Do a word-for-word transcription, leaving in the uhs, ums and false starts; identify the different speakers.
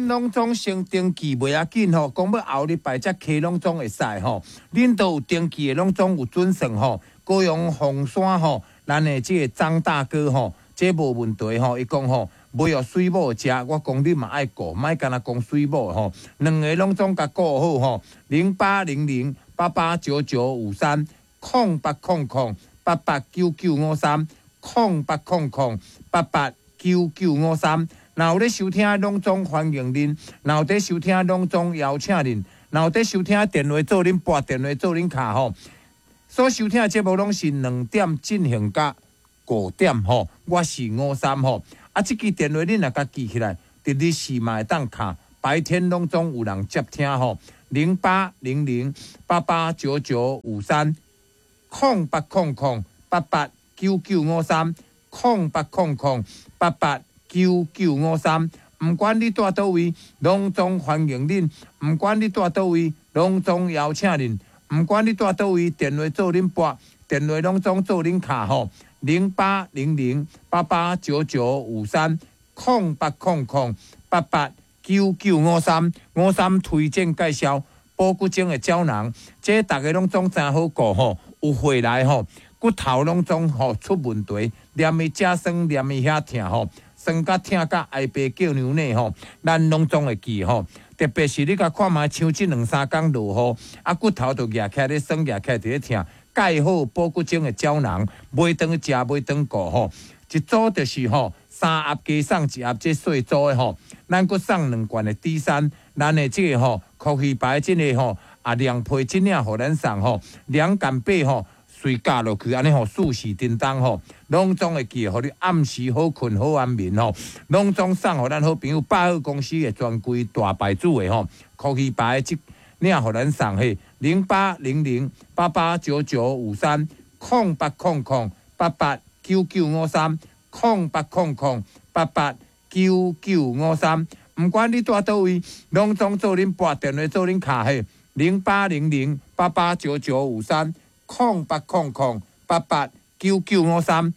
Speaker 1: 恁攏總先登記袂要緊吼，講欲後禮拜才提攏總會使吼。恁都有登記的，攏總有準算吼。高雄鳳山吼，咱的這個張大哥吼，這無問題吼。伊講吼，袂予水母食，我講你嘛愛顧，莫干焦講水母吼。兩个攏總共顧好吼，零八零零八八九九五三，空八空空八八九九五三，空八空空八八九九五三。若有咧收聽，攏總歡迎恁；若有佇收聽，攏總邀請恁；若有佇收聽，電話做恁撥電話做恁敲吼。所收聽的節目攏是兩點進行到五點吼，我是吳三吼。啊，這支電話恁若共記起來，佇日時嘛會當敲，白天攏總有人接聽吼。零八零零八八九九五三，空八空空八八九九五三，空八空空八八九九五三，毋管你蹛佗位，攏總歡迎恁；毋管你蹛佗位，攏總邀請恁；毋管你蹛佗位，電話做恁撥，電話攏總做恁敲吼。零八零零八八九九五三，空八空空八八九九五三，吳三推薦介紹保骨精的膠囊，這逐家攏總真好顧吼，有回來吼，骨頭攏總吼出問題，連伊遮酸，連伊遐疼吼。酸甲疼甲哀爸叫娘呢吼，咱攏總會記吼。特別是你共看覓，像這兩三工落雨，啊骨頭就夯起來咧酸，夯起來佇咧疼。蓋好保骨精的膠囊，買轉去食，買轉顧吼。一組就是吼三盒加送一盒，這細組的吼，咱閣送兩罐的 D 三，咱的這個吼，科學牌這个吼啊涼皮這領予咱送吼，涼感八吼。隨咬落去，按呢吼，順時叮當吼，攏總會記，予你暗時好睏好安眠吼，攏總送予咱好朋友百貨公司的專櫃大牌子的吼，科學牌這領予咱送去零八零零八八九九五三，空八空空八八九九五三，空八空空八八九九五三，毋管你蹛佗位，攏總做恁撥電話做恁敲去零八零零八八九九五三。空八空空八八九九五三。